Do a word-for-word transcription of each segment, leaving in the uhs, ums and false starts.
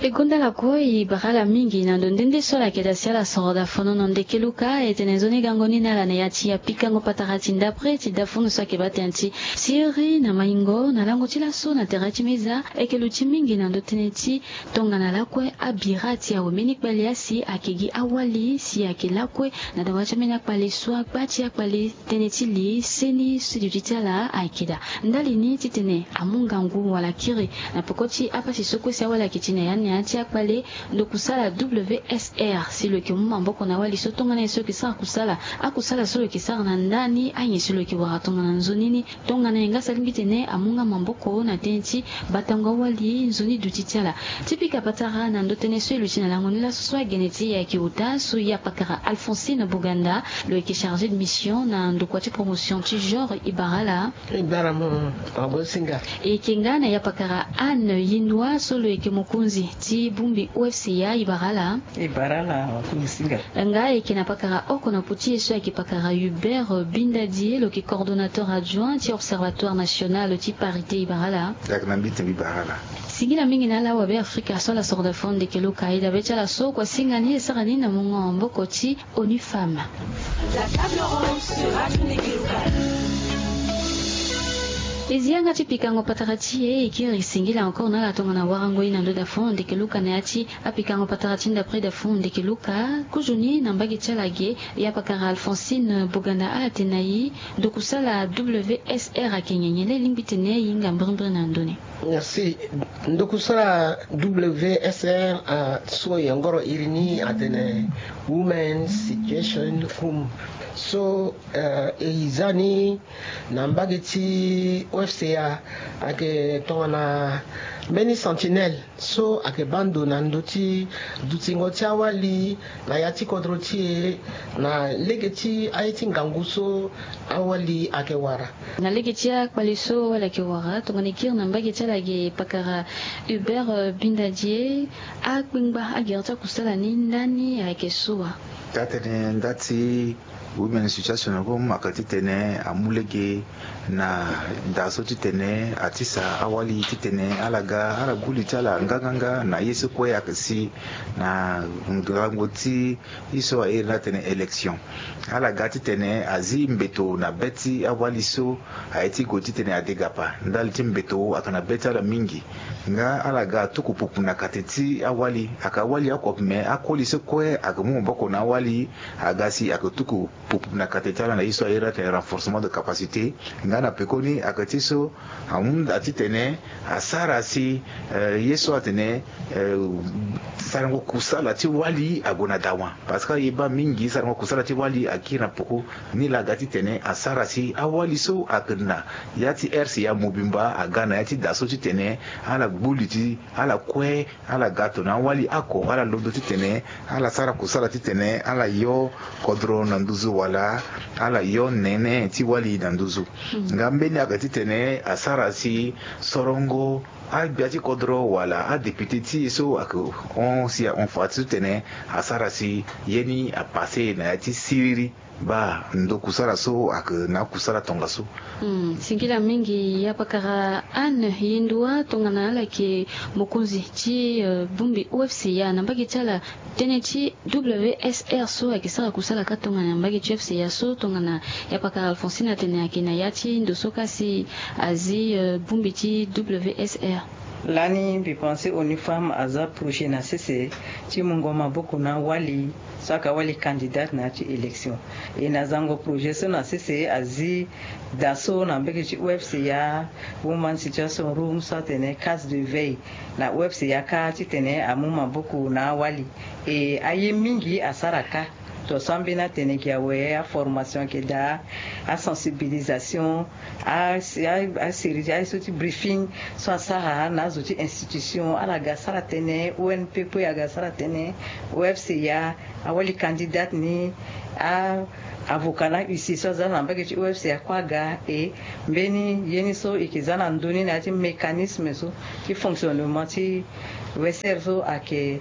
E gonda lakue e bara ala mingi na ndo nde nde so ala yeke daa si ala soro daa fono na ndeke luka. E tene nzoni gango ni na ala na ya ti apikango patara ti ndapre ti dafunu so ayeke baa tënë ti siriri na maingo na lango ti laso na tere ti meza. E yeke luti mingi na ndo tënë ti tongana lakue abira ti awe mbeni kpale asi ayeke gi awali si ayeke lakue na dawa ti ambeni akpale so akpa ti akpale tënë ti li seni si duti ti ala ayeke daa. Ndali ni titene amu ngangu wala kiri na peko ti apasi so kue si awali ayeke ti na ya ni na ya ti akpale, ndo kusala W S R si lo yeke mu maboko na awali so tongana nyen so lo yeke sara kusala, akusala so lo yeke sara na nda ni, anyen si lo yeke wara tongana nzoni ni, tongana nyen nga si alingbi tene amu nga maboko na tënë ti batango awali nzoni duti ti ala. Ti pika patara na ndo tënë so e luti na lango ni laso so agene ti e ayeke ota so ya pakara Alphonsine Boganda, lo yeke chargé de mission na ndokua ti promotion ti genre. E bara ala. E bara mo, Ngosinga. E yeke nga na ya pakara Anne Yindua so lo yeke mokonzi ti bongbi O F C A. E bara ala. E bara ala, Ngosinga. Nga e yeke na pakara oko na pu ti e so ayeke pakara Hubert Bindadie, lo yeke coordonnateur adjoint ti Observatoire National ti Parité. E bara ala. Dak na mbi ti mbi bara ala. Singila mingi na ala awabe Afrika so ala soro daa fono ndeke luka. E dabe ti ala so kua singa ni e sara ni na mungo maboko ti ONU Femmes. La table ronde sur Radio Ndeke Luka. E zi yanga ti pikango patara ti e, e kiri singila encore na ala tongana warango e na ndo daa fono ndeke luka na ya ti apikango patara ti ndapre daa fono ndeke luka. Kozoni na mbage ti ala ge, ya pakara Alphonsine Boganda, ala tene na e ndo kusala W S R ayeke nyen? Nyen laa e lingbi tene e hinga mbirimbiri na ndo ni? Merci. Ndo kusala W S R, ah, so e yongoro iri ni atene Women Situation Room. So, eh, e za ni na mbage ti O F C A, ayeke tongana mbeni sentinelle so ayeke baa ndo na ndö ti dutingo ti awali na ya ti kodro ti e, na lege ti aye ti ngangu so awali ayeke wara. Na lege ti akpale so awali ayeke wara, tongana e kiri na mbage ti ala ge pakara Hubert, eh, Bindadie, akpengba agere ti akusala ni ndani ayeke so wa? Taa tënë nda ti Women Situation Room ayeke titene amu lege na daa so titene atisa awali titene ala ga, ala gbu li ti ala nganganga na ye so kue ayeke si na ngangu ti ye so a iri ni atene élection. Ala ga titene azi mbeto na be ti awali so aye ti gue titene adegapa. Ndali ti mbeto ayeke na be ti ala mingi. Nga ala ga atuku pupu na kate ti awali, ayeke awali oko me akoli so kue ayeke mu maboko na awali, aga si ayeke tuku pupu na kate ti ala na ye so a iri atene renforcement de capacité. Nga na pekoni ayeke ti so ahunda titene asara si, eh, ye so atene, eh, sarango kusala ti wali ague na dawa. Parce que aye baa mingi sarango kusala ti wali akiri na peko. Nilaa aga titene asara si awali so ayeke na ya ti R C A mobimba aga na ya ti daa so titene ala gbu li ti ala kue, ala ga tongana awali oko, ala londo titene ala sara kusala titene ala yo kodro na nduzu wala ala yo nene ti wali na nduzu. Nga mbeni ayeke titene asara si sorongo agbia ti kodro wala adepite ti e so ayeke hon si ahon fa ti so titene asara si ye ni apasse na ya ti siriri. Baa ndo kusala so ayeke na akusala tongaso. Hmm, singila mingi ya pakara Anne Yindua tongana ala yeke mokonzi ti, eh, bongbi O F C A na mbage ti ala. Tënë ti W S R so ayeke sara kusala kâ tongana na mbage ti O F C A so tongana ya pakara Alphonsine atene ayeke na ya ti ndo so kâ si azi, eh, bongbi ti W S R. Lani mbi pense ONU Femmes aza projet na sese ti mungo maboko na wali so ayeke awali candidate na ya ti élection. E na zango projet so na sese azi daa so na mbage ti O F C A, Woman Situation Room so atene case de veille na O F C A kâ titene amu maboko na awali. E aye mingi asara kâ. Tongaso ambeni atene gi awe, aformation ayeke daa, asensibilisation, a, a, asérie ti aye so ti briefing so asara na azo ti institution, ala ga asara tënë, O N P kue aga asara tënë, O F C A, awali candidate ni, a, avocat na huissier so aza na mbage ti O F C A kue aga. E mbeni ye ni so e yeke za na ndö ni na ya ti mécanisme so ti fonctionnement ti O S R so ayeke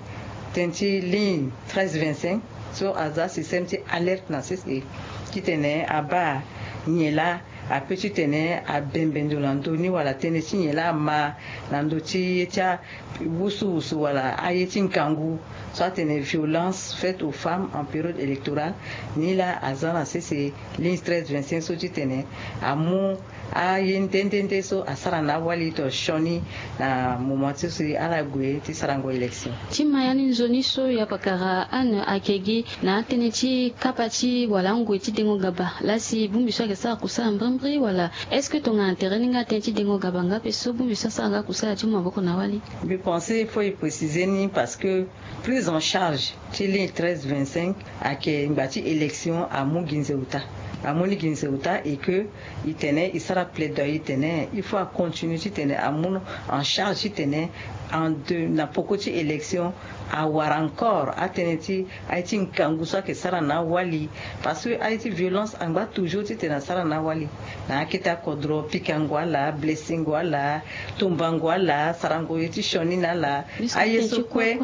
tënë ti ligne treize vingt-cinq so aza système ti alerte na sese titene abaa nyen laa Ape titene abembe ndo na ndö ni wala tënë ti nyen laa ama na ndö ti ye ti awusuwusu wala aye ti ngangu so atene violence faite aux femmes en période électorale. Ni laa aza na sese ligne treize vingt-cinq so titene amu aye nde nde nde so asara na awali to sioni na moment ti so ala gue ti sarango élection. Ti ma ya ni nzoni so ya pakara Anne ayeke gi na atënë ti kapa ti wala angoi ti dengo gaba laa si bongbi so ayeke sara kusala mbrimbri wala est-ce que tongana tere ni nga atënë ti dengo gaba nga ape so bongbi so asara nga kusala ti mu maboko na awali? Mbi pense il faut e préciser ni parce que prise en charge ti ligne treize vingt-cinq ayeke ngba ti élection amu gi nze uta. Amu ni gi nze uta et que e tene e sara plaidoyer tene il faut acontinue titene amu en charge titene en deux na poko ti élection awara encore atënë ti aye ti ngangu so ayeke sara na awali. Parce que aye ti violence angba toujours titene asara na awali na akete akodro pikango ala blessingo ala tombango ala sarango ye ti sioni na ala. Aye so kue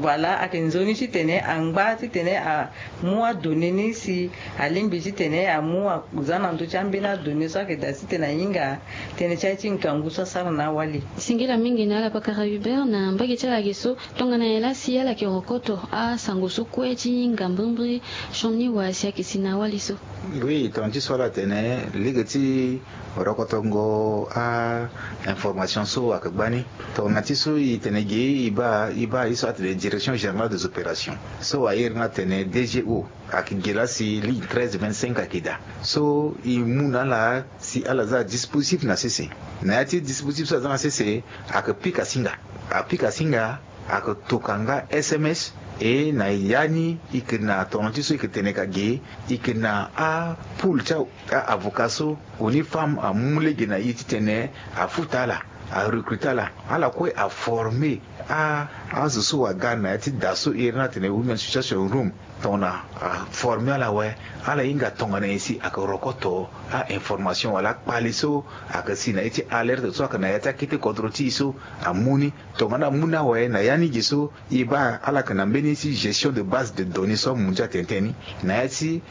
voilà ayeke nzoni titene angba titene amu adonné ni si alingbi titene amu aza na ndö ti ambeni adonné so ayeke daa titene ahinga tënë ti aye ti ngangu so asara na awali. Singila mingi na ala pakara Hubert na mbage ti ala ge so. Tongana nyen laa si ala yeke rokoto asango so kue ti hinga mbrimbri sioni wa si ayeke si na awali so? Oui, tongana ti so ala tene lege ti rokotongo a information so ayeke gbani. Tongana ti so e tene ge e baa e baa ye so atene direction générale des opérations so airi ni atene D G O ayeke ge laa si ligne treize vingt-cinq ayeke daa so e mu na ala si ala za dispositif na sese. Na ya ti dispositif so aza na sese ayeke pika singa. Apika singa ayeke toka nga S M S. E na ya ni e yeke na tongana ti so e yeke tene ka ge e yeke na apoule ti a avocat so Onifam amu lege na e titene afuta ala, arecruter ala. Ala kue aformer a azo so aga na ya ti da so iri ni atene women situation room. Tongana aformer ala awe, ala hinga tongana nyen si ayeke rokoto a information wala akpale so ayeke si na ye ti alerte so ayeke na ya ti akete kodro ti e so amu ni. Tongana amu ni awe na ya ni ge so e baa ala yeke na mbeni ti gestion de base de données so amu ndia tene tënë ni na ya ti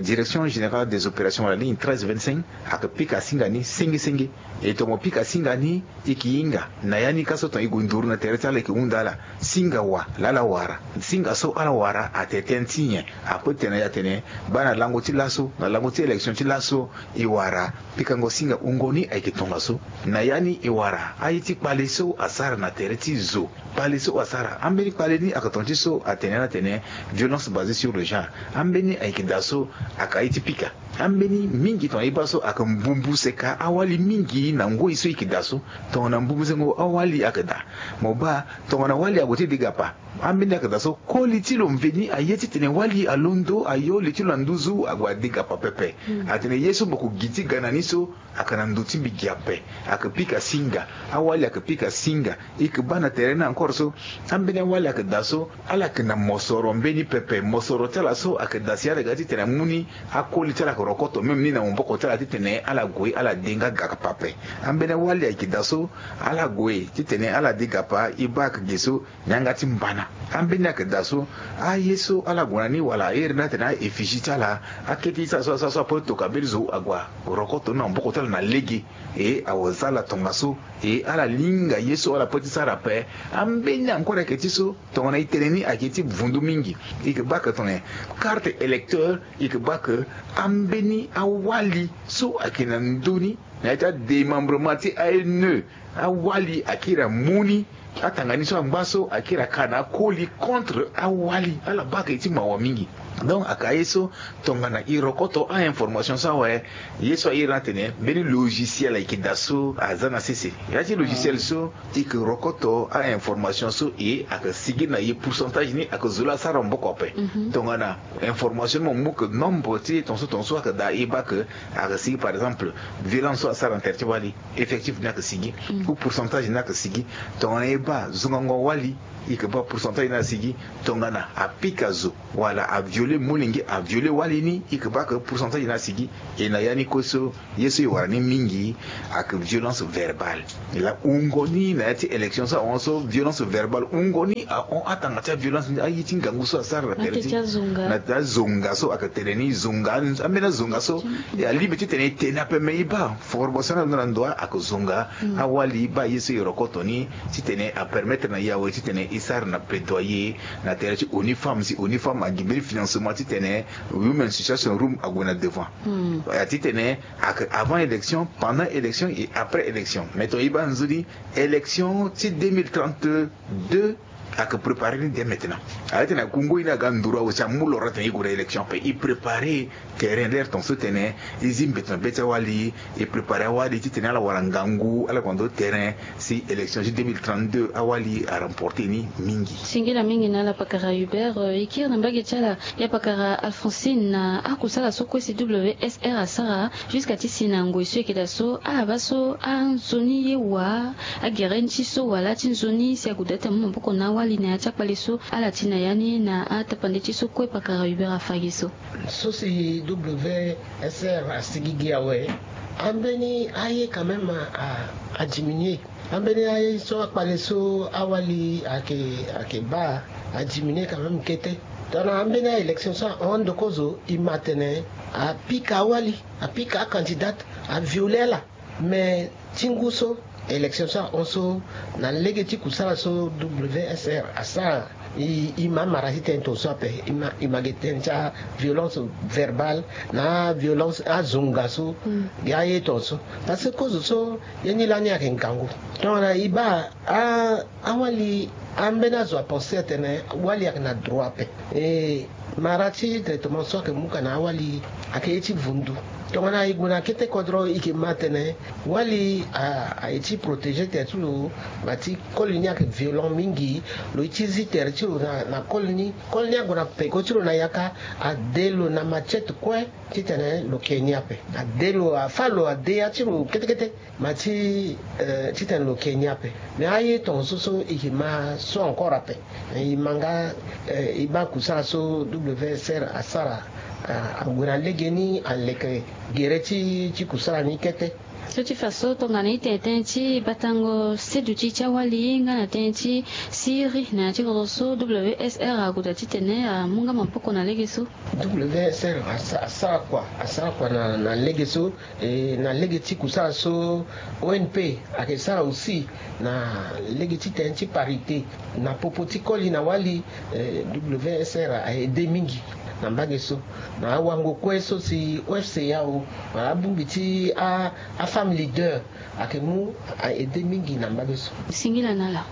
direction générale des opérations wala ligne treize vingt-cinq ayeke pika singa ni senge senge. E tongana mo pika singa ni e yeke hinga na ya ni ka so tongana e gue nduru na tere ti ala e yeke hunda ala singa wa laa ala wara. Singa so ala wara atene tënë ti nyen? Ape tene na e atene baa na lango ti laso na lango ti élection ti laso e wara pikango singa wungo ni ayeke tongaso. Na ya ni e wara aye ti kpale so asara na tere ti zo. Kpale so asara ambeni kpale ni ayeke tongana ti so atene ni atene violence basée sur le genre. Ambeni ayeke daa so ayeke aye ti pika. Ambeni mingi tongana e baa so ayeke mbumbu seka awali mingi na ngoi so e yeke daa so. Tongana mbumbu sengo awali ayeke daa, mo baa tongana wali ague ti degapa, ambeni ayeke daa so koli ti lo mveni aye titene wali alondo ayo li ti lo na nduzu ague adegapa pepe. Atene ye so mo ko gi ti ga na ni so ayeke na ndo ti mbi gi ape. Ayeke pika singa. Awali ayeke pika singa. E yeke baa na tere ni encore so ambeni awali ayeke daa so ala yeke na mosoro mbeni pepe. Mosoro ti ala so ayeke daa si ala ga titene amu ni akoli ti ala ayeke rokoto même ni na maboko ti ala titene ala gue ala de nga gapa ape. Ambeni awali ayeke daa so ala gue titene ala de gapa e baa ayeke ge so. Ni yanga ti mbana. Ambeni ayeke daa so aye so ala gue na ni wala iri ni atene a-effigie ti ala akete ti ala so asara so ape toka mbeni zo ague arokoto ni na maboko ti ala na lege. E awe za ala tongaso. E ala linga ye so ala pe ti sara ape. Ambeni encore ayeke ti so tongana e tene ni ayeke ti vundu mingi. E yeke baa ayeke tongana karte électeur. E yeke baa ayeke ambeni awali so ayeke na ndö ni na ya ti adémembrement ti A N E. Awali akiri amu ni. Atanga ni so angba so akiri aka na akoli contre awali. Ala baa ayeke ti mawa mingi. Donc ayeke aye so tongana e rokoto a-information so awe. Ye so airi ni atene mbeni logiciel ayeke daa so aza na sese. Ya ti logiciel so e yeke rokoto a-information so e ayeke sigi na e pourcentage ni ayeke zo laa asara maboko ape. Tongana information ni mo mu ke nombre ti tongaso tongaso ayeke daa e baa ke ayeke sigi par exemple violence so asara na tere ti wali. Effectif ni ayeke sigi ou pourcentage ni ayeke sigi. Tongana e baa zongango wali e yeke baa pourcentage ni ayeke sigi. Tongana apika zo wala aviole Molenge a viole wali ni, i ke baa ke pourcentage ni asigi. E na ya ni kue so, ye so e wara ni mingi ake violence verbale. La wungo ni na ya ti élection so ahon so, violence verbale wungo ni ahon atanga ti aviolence ni, aye ti ngangu so asara na pere ti na ti azonga so ake tene ni zonga, ambeni azonga so. E alingbi titene e tene ape, me e baa formation ni alondo na ndo ake zonga awali, baa ye so e rokoto ni titene apermettre na e awe titene e sara na plaidoyer na tere ti ONU Femmes, si ONU Femmes agi mbeni financement titene Women Situation Room ague na devant. Titene ake avant élection, pendant élection et après élection. Mais ton e baa nzoni élection ti deux mille trente-deux ake préparer ni dès maintenant. Ala tene akungo ye ni aga nduru awe si amu loro atene e gue na élection ape, e préparer terrain lere ton so tene e zi mbeto na be ti awali, e préparer awali titene ala wara ngangu, ala gue na ndo terrain si élection ti deux mille trente-deux awali aremporter ni mingi. Singila mingi na ala pakara Hubert. E kiri na mbage ti ala ya pakara Alphonsine, na akusala so kue si W S R asara jusqu'à ti si na ngoi so e yeke daa so, abaa so anzoni ye wa agere ni ti so wala ti nzoni si ague daa ti amu maboko na awali na ya ti akpale so ala ti na ya ni na atapande ti so kue pakara Hubert afa gi so. So si W S R asigi gi awe, ambeni aye quand même a, a, adiminuer. Ambeni aye so akpale so awali ake, ake baa adiminuer quand même kete. Tongana ambeni a-élection so ahon ndo kozo, e ma atene apika awali, apika acandidate, aviole ala. Mais ti ngu so élection so ahon so, na lege ti kusala so W S R asara, e, e ma mara ti tene ton so ape, e ma, e ma ge tene ti aviolence verbale na aviolence azonga so. Gi aye ton so, parce que kozo so ye ni lani ayeke ngangu. Tongana e baa a, awali, ambeni azo apenser atene wali ayeke na droit ape. E mara ti traitement so ayeke mu ka na awali ayeke ye ti vundu. Tongana e gue na kete kodro, e yeke ma atene wali a, aye ti protéger tere ti lo, ma ti koli ni ayeke violent mingi. Lo ye ti zi tere ti lo na, na koli ni. Koli ni ague na peko ti lo na yaka, ade lo na machette kue titene lo ke ni ape. Ade lo, afâ lo, ade ya ti lo kete kete. Ma ti, eh, titene lo ke ni ape. Mais aye ton so so e yeke ma so encore ape. E ma nga, eh, e baa kusala so W S R asara, ah, ague na legeni, aleke gere ti, ti kusala ni kete. So ti fa so tongana e tene tënë ti batango seduti ti awali nga na tënë ti siriri na ya ti kodro so, W S R ague daa titene amu nga maboko na lege so. W S R asa, asara kua, asara kua na, na lege so. E na lege ti kusala so O N P ayeke sara aussi na lege ti tënë ti parité na popo ti koli na wali, eh, W S R a aide mingi na mbage so. Na awango kue so si O F C A O wala abongbi ti a, afemme leader ayeke mu aide mingi na mbage so. Singila na ala.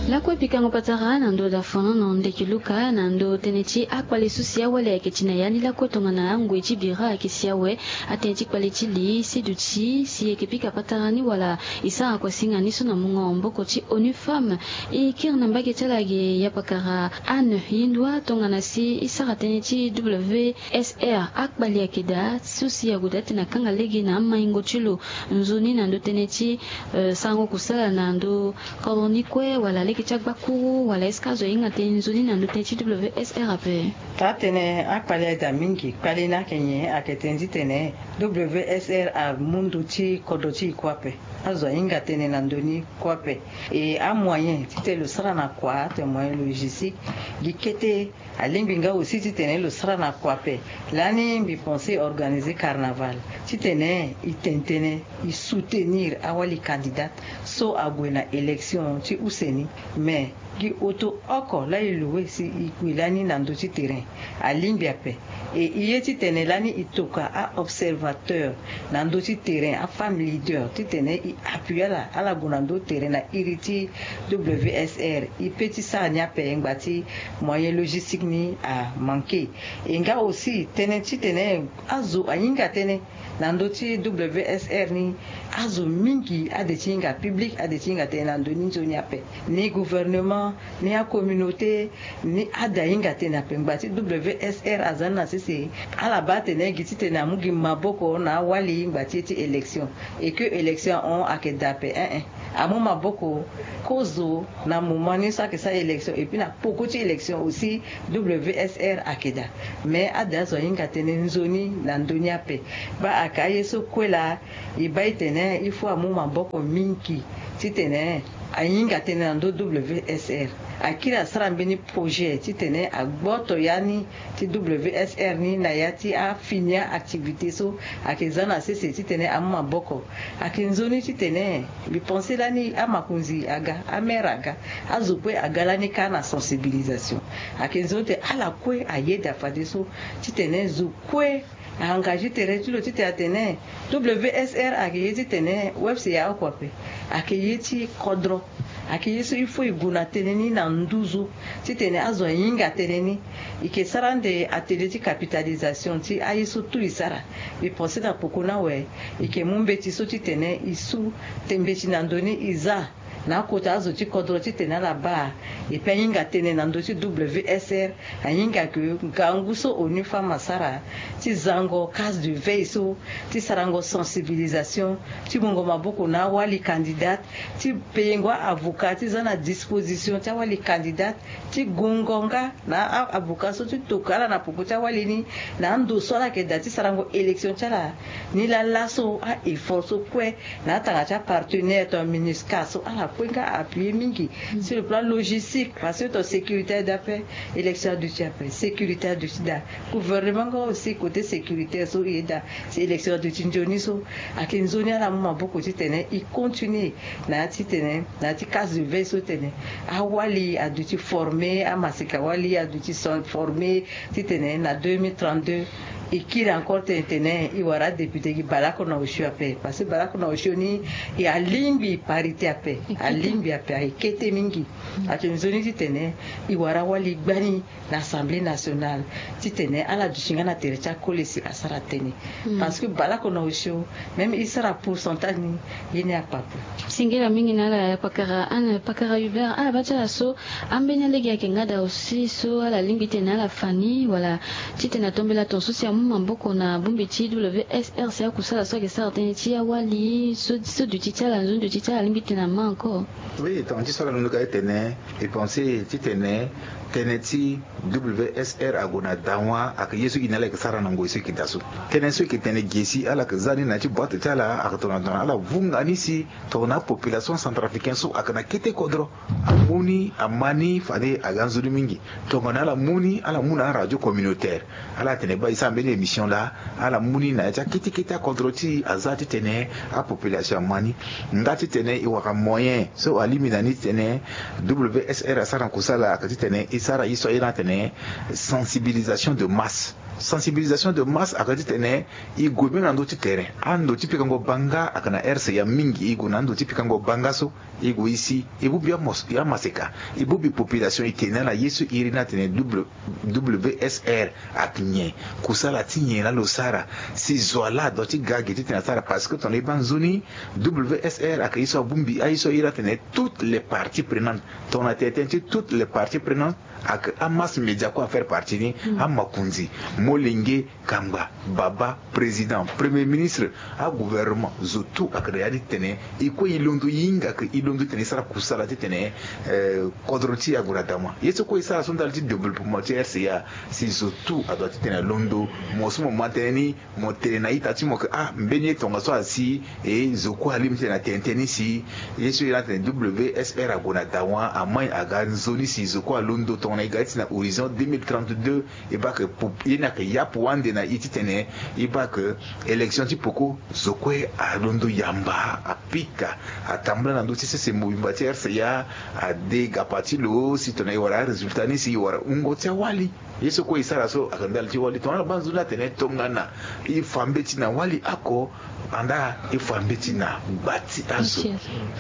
Lakue pikango patara na ndo dafono na ndeki luka na ndo tënë ti akpale so si awali ayeke ti na ya ni lakue tongana angoi ti bira ayeke si awe. Atënë ti kpale ti li seduti si e yeke pika patara ni wala e sara kua singa ni so na mungo maboko ti ONU Femmes. E kiri na mbage ti ala ge ya pakara Anne Yindua tongana si e sara tënë ti W S R akpali ayeke daa so si ague daa ti na kanga lege na amaingo ti lo nzoni na ndo tënë ti, eh, sarango kusala na ndo kodro ni kue wala lege ti agbakuru wala est-ce que azo ahinga tënë nzoni na ndo tënë ti W S R ape? Taa tënë akpali aye daa mingi. Kpali ni ayeke nyen? Ayeke tënë ti tene W S R amu ndo ti kodro ti e kue ape. Azo ahinga tënë na ndo ni kue ape. E amoyen titene lo sara na kua, atene moyen logistique, gi kete. Alingbi nga aussi titene lo sara na kua ape. Lani mbi pense organiser carnaval titene e tene tënë e soutenir awali candidate so ague na élection ti use ni. Mais gi oto oko laa e loue si e gue lani na ndö ti terrain alingbi ape. E e ye titene lani e tokua a-observateur na ndö ti terrain, afemme leader, titene e appuyer ala, ala gue na ndö terrain na iri ti W S R. E pe ti sara ni ape ngbanga ti moyen logistique ni amanke. E nga aussi tënë titene azo ahinga tënë na ndö ti W S R ni, azo mingi ade ti hinga, public ade ti hinga tënë na ndö ni nzoni ape. Ni gouvernement ni acommunauté, ni ada ahinga tënë ape. Ngba ti W S R aza ni na sese, ala baa atene gi titene amu gi maboko na awali ngba ti e ti élection, et que élection ahon ayeke daa ape. Ein ein, amu maboko kozo na moment ni so ayeke sara élection, et puis na poko ti élection aussi, W S R ayeke daa. Mais ada azo ahinga tënë nzoni na ndö ni ape. Baa ayeke aye so kue laa, e baa e tene il faut amu maboko mingi titene ahinga tënë na ndö W S R. Akiri asara mbeni projet titene agboto ya ni ti W S R ni na ya ti afini a-activité so ayeke za na sese titene amu maboko. Ayeke nzoni titene mbi pense lani amakonzi aga, amaire aga, azo kue aga lani kâ na sensibilisation. Ayeke nzoni titene ala kue ayeda fadeso titene zo kue a-engagé tere ti lo titene atene W S R ayeke ye titene W S R ya oko ape. Ayeke ye ti kodro. Ayeke ye so il faut e gue na tënë ni na nduzu titene azo ahinga tënë ni. E yeke sara ande atelier ti capitalisation ti aye so tout e sara. Mbi pense na poko ni awe, e yeke mu mbeti so titene e su te mbeti na ndö ni e za na akota azo ti kodro titene ala baa. Et puis ahinga tënë na ndö ti W S R, ahinga ke ngangu so ONU Femmes asara ti zango case de veille so, ti sarango sensibilisation, ti mungo maboko na awali candidate, ti payengo a-avocat ti za na disposition ti awali candidate, ti gungo nga na a-avocat so ti toka ala na poko ti awali ni, na ando so ala yeke daa ti sarango élection ti ala. Ni laa laso a-effort so kue na atanga ti apartenaire tongana MINUSCA so ala kue nga appuyer mingi sur le plan logistique, parce que ton sécurité aye daa ape, élection aduti ape, sécurité aduti daa. Gouvernement nga aussi côté sécuritaire so e ye daa si élection aduti nzoni so. Ayeke nzoni ala mu maboko titene e continuer na ya titene na ya ti case de veille so titene awali aduti former, amaseka wali aduti former, titene na deux mille trente-deux e kiri encore tene tene e wara adéputé gi Bala Konao Osio ape, parce que Bala Konao Osio ni e alingbi parité ape, alingbi ape, ayeke kete mingi. Ayeke nzoni titene e wara awali gbani na Assemblée nationale titene ala duti nga na tere ti akole si asara tënë. Parce que Bala Konao Osio, même e sara pourcentage ni, ye ni akpa ape. Singila mingi na ala, pakara Anne, pakara Hubert, ala baa ti ala so ambeni alege ayeke nga daa aussi so ala lingbi titene ala fa ni wala titene atombela ton so si amu maboko na bongbi ti W S R si akusala so ayeke sara tënë ti awali so, so duti ti ala, nzoni duti ti ala alingbi titene ama encore. Oui, tongana ti so ala londo ka ti tene, e pense titene tënë ti W S R ague na dawa ayeke ye so e na ala yeke sara na ngoi so e yeke daa so. Tënë so e yeke tene ge si ala yeke za ni na ya ti boite ti ala ayeke tongana tongana ala vunga ni si tongana apopulation centrafricaine so ayeke na kete kodro amu ni, ama ni fade aga nzoni mingi. Tongana ala mu ni, ala mu na aradio communautaire. Ala tene baa e sara mbeni émission laa, ala mu ni na ya ti akete kete akodro ti e aza titene apopulation ama ni. Nga titene e wara moyen so alingbi na ni titene W S R asara na kusala ayeke titene e sara ye so aye ni atene sensibilisation de masse. Sensibilisation de masse ayeke titene e gue mbeni na ndö ti terrain. Ando ti pikango banga ayeke na R C A mingi, e gue na ando ti pikango banga so. E gue e si, e bongbi amos-, amaseka, e bongbi population, e tene na ala ye so iri ni atene W-, W S R ayeke nyen, kusala ti nyen laa lo sara, si zo wa laa adoit ti ga ge titene asara. Parce que tongana e baa nzoni, W S R ayeke ye so abongbi aye so iri atene toutes les parties prenantes. Tongana tene tënë ti toutes les parties prenantes, ayeke amasse média kue afaire partie ni, amakonzi, molenge, kangba, baba, président, premier ministre, agouvernement, zo tout ayeke na ya ni titene e kue e londo, e hinga ke e londo titene e sara kusala titene, eh, kodro ti e ague na dawa. Ye so kue e sara so ndali ti développement ti R C A, si zo tout adoit titene alondo. Mo so mo ma tënë ni, mo tene na ita ti mo ke, ah, mbeni ye tongaso asi, e zo kue alingbi titene atene tënë ni si ye so e na atene W S R ague na dawa, amai aga nzoni si zo kue alondo tongana e ga ti na horizon deux mille trente-deux. E baa ke pop-, ye ni ayeke yapu ande na e titene e baa ke élection ti poko zo kue alondo yamba, apika, atambula na ndö ti sese mobimba ti R C A, ade gapa ti lo si tongana e wara arésultat ni si e wara wungo ti awali. Ye so kue e sara so ayeke ndali ti wali. Tongana ala baa nzoni atene tongana e fa mbeti na wali oko, andaa e fa mbeti na gba ti azo.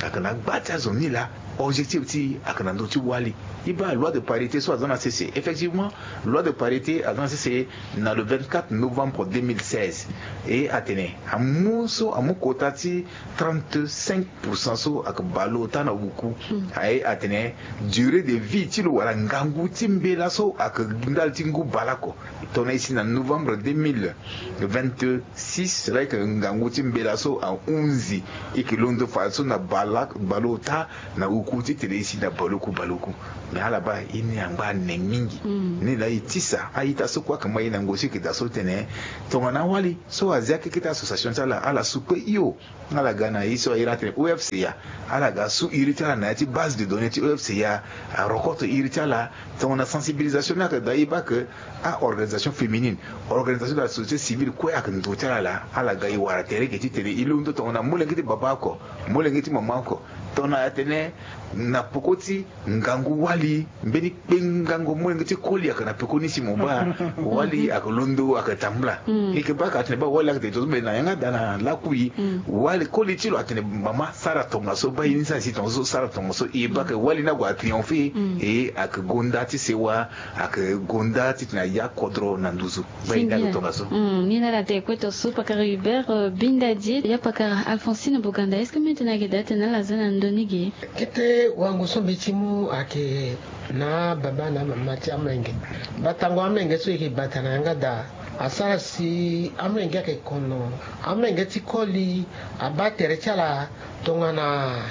Ayeke na gba ti azo ni laa. objectif ti ayeke na ndö ti wali. E baa loi de parité so aza na sese. Effectivement, loi de parité aza na sese na le vingt-quatre novembre deux mille seize. E atene amu so amu kota ti trente-cinq pour cent so ayeke baleota na wuku. Aye atene durée de vie ti lo wala ngangu ti mbela so ayeke ndali ti ngu baleoko. Tongana e si na novembre deux mille vingt-six, laa e yeke ngangu ti mbela so ahunzi, e yeke londo fadeso na baleota na wuku titene e si na baleoku baleoku. Mais ala baa ye ni angba ane mingi. Ni laa e tisa a-ita so kue ayeke ma e na ngoi so e yeke daa so tene tongana awali so azi akeke ti association ti ala, ala su kue hio. Ala ga na ye so a iri atene O F C A. Ala ga su iri ti ala na ya ti base de données ti O F C A. Arokoto iri ti ala. Tongana sensibilisation ni ayeke daa, e baa ke a-organisation féminine, organisation de la société civile kue ayeke ndö ti ala laa. Ala ga e wara tere ge titene e londo tongana molenge ti baba oko, molenge ti mama oko. Tongana atene na peko ti ngangu wali, mbeni kpengango molenge ti koli ayeke na peko ni si mo baa wali ayeke londo, ayeke tambula. E yeke baa ka atene baa wali ayeke tene tongaso, me na yanga daa na lakui. Wali koli ti lo atene mama sara tongaso, baa ye ni sara si tongaso, sara tongaso. E baa ke wali ni ague atriomphe. E ayeke gonda ti sewa, ayeke gonda titene aya kodro na nduzu. Baa ye ni ague tongaso. Ni na ala te kue tongaso pakara Hubert, euh, Bindadie, ya pakara Alphonsine Boganda. Est-ce que mbi tene ayeke daa tene ala za na ndö ni ge? Kete wango so mbi ti mu ayeke na ababa na amama ti amolenge. Batango amolenge so e yeke bata na yanga daa asara si amolenge ayeke kono. Amolenge ti koli abaa tere ti ala tongana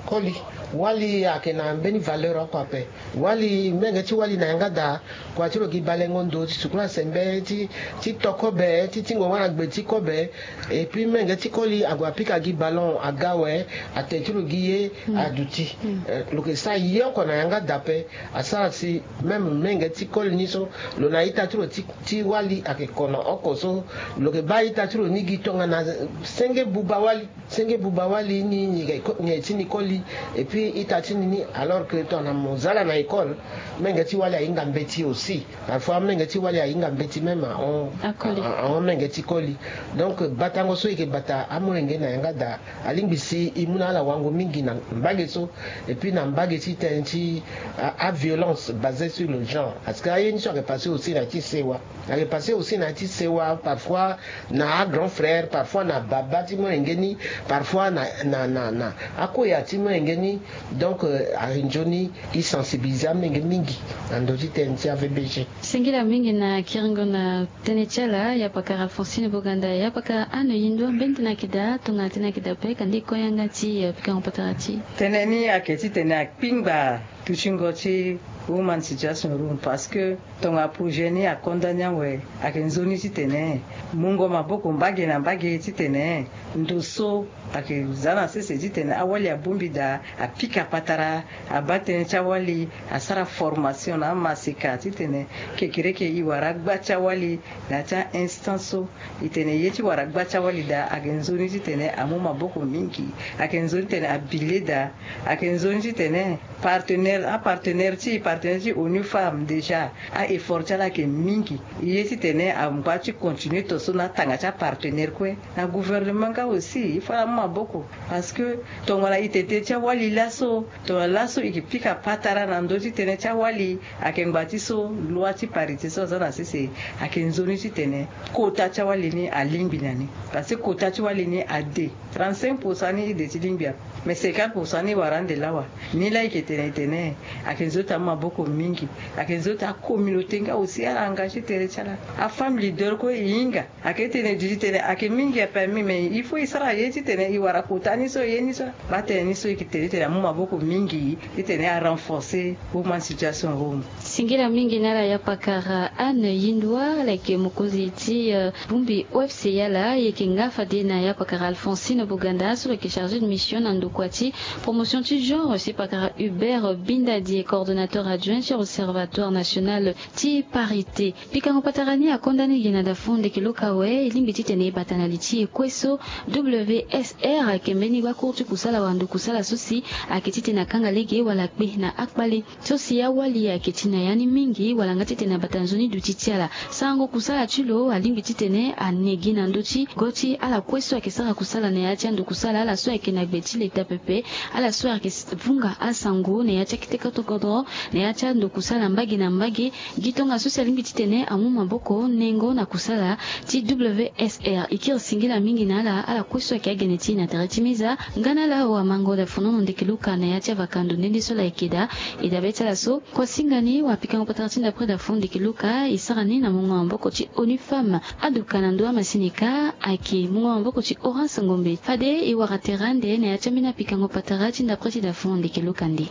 koli. Wali ayeke na mbeni valeur oko ape. Wali, molenge ti wali na yanga daa, kua ti lo gi balengo ndo ti sukulu asembe, ti, ti to kobe, ti tingo wâ na gbe ti kobe. Et puis molenge ti koli ague apika gi ballon aga awe, ate ti lo gi ye aduti. Eh, lo yeke sara ye oko na yanga daa ape. Asara si même molenge ti koli ni so lo na ita ti lo ti, ti wali ayeke kono oko so, lo yeke baa ita ti lo ni gi tongana senge buba wali. Senge buba wali ni, ni yeke ko-, ni ti ni koli. Et puis ita ti ni ni, alors que tongana mo za ala na école, molenge ti wali ahinga mbeti aussi. Parfois molenge ti wali ahinga mbeti même ahon, ahon molenge ti koli. Donc batango so e yeke bata amolenge na yanga daa, alingbi si e mu na ala wango mingi na mbage so. Et puis na mbage ti tënë ti a, a violence basée sur le genre, parce que aye ni so ayeke passé aussi na ya ti sewa. Ayeke passé aussi na ya ti sewa, parfois na a grand frère, parfois na baba ti molenge ni, parfois na, na, na, na akueya ti molenge ni. Donc, euh, ayeke nzoni e sensibiliser amolenge mingi na ndö ti tënë ti A V B G. Singila mingi na kiringo na tënë ti ala, ya pakara Alphonsine Boganda, ya pakara Anne Yindua, mbeni tënë ayeke daa, tongana tënë ayeke daa ape, kande e ko yanga ti, euh, pikango patara ti e. Tënë ni ayeke titene akpingba dutingo ti Woman Situation Room, parce que tongana projet ni akonda ni awe, ayeke nzoni titene mungo maboko mbage na mbage titene ndo so ayeke za na sese titene awali abongbi daa, apika patara, abaa tënë ti awali, asara formation na amaseka titene kekereke e wara agba ti awali na ya ti a-instance so. E tene ye ti wara agba ti awali daa ayeke nzoni titene amu maboko mingi. Ayeke nzoni titene abile daa. Ayeke nzoni titene partenaire, apartenaire ti, partenaire ti ONU Femmes déjà, a-effort ti ala ayeke mingi. E ye titene angba ti continuer to so na atanga ti apartenaire kue. Na gouvernement nga aussi, il faut ala mu maboko. Parce que tongana e tete ti awali laso, tongana laso e yeke pika patara na ndö ti tënë ti awali, ayeke ngba ti so loi ti parité so aza na sese, ayeke nzoni titene kota ti awali ni alingbi na ni. Parce que kota ti wali ni ade. Trente-cinq pour cent ni e de ti lingbi ape. Mais cinquante pour cent ni e wara ande lawa. Ni laa e yeke tene e tene, ayeke nzoni ti amu maboko mingi. Ayeke nzoni ti acommunauté nga aussi ala engagé tere ti ala. Afemme leader kue e hinga. Ayeke tene duti tene ayeke mingi apermis, mais il faut e sara ye titene e wara kota ni so, ye ni so. Baa tënë ni so e yeke tene titene amu maboko mingi titene a renforcer Woman Situation Room. Singila mingi na ala ya pakara Anne Yindua, ala yeke mokonzi ti, euh, bongbi O F C A laa. E yeke nga fade na ya pakara Alphonsine Boganda so lo yeke chargé de mission na ndokua ti promotion ti genre, si pakara Hubert Bindadie, coordonnateur adjoint ti observatoire national ti parité. Pikango patara ni akonda ni gi na dafo ndeke luka awe e lingbi titene e bata na li ti e kue so. W S R ayeke mbeni gbakour ti kusala wala ndo kusala so si ayeke titene akanga lege wala kpe na akpale so si awali ayeke ti na ya ni mingi wala nga titene abata nzoni duti ti ala. Sarango kusala ti lo alingbi titene ane gi na ndö ti go ti ala kue so ayeke sara kusala na ya ti ando kusala ala so ayeke na gbe ti leta pepe. Ala so ayeke vunga asango na ya ti akete kotokodro na ya ti ando kusala mbage na mbage. Gi tongaso si alingbi titene amu maboko nengo na kusala ti W S R e kiri singila mingi na ala ala kue so ayeke agene ti e na tere ti meza. Nga na ala awamango dafonono ndeke luka na ya ti avakando nde nde so ala yeke daa. E dabe ti ala so kua singa ni wapikango patara ti ndapre dafo ndeke luka e sara ni na mungo maboko ti onu femme. Aduka na ndo amasini ka ayeke mungo maboko ti orange ngombe fade e wara tere ande na ya ti ambeni apikango patara ti ndapre ti dafo ndeke luka nde.